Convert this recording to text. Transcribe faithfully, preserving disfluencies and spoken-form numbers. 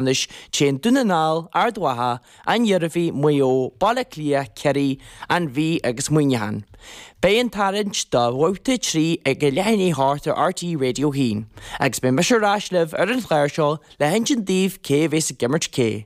Ceannais téann Dún na nGall, Ard Mhacha, An Iarmhí, Maigh Eo, Baile Átha Cliath, Ciarraí, An Mhí agus Muineachán. Beidh an tarraingt do bhabhta trí ag a leath i ndiaidh a hocht ar RTÉ Radio a haon, agus beidh mise ar ais libh ar an chlár seo le hinsint daoibh cé a bheas ag imirt cé.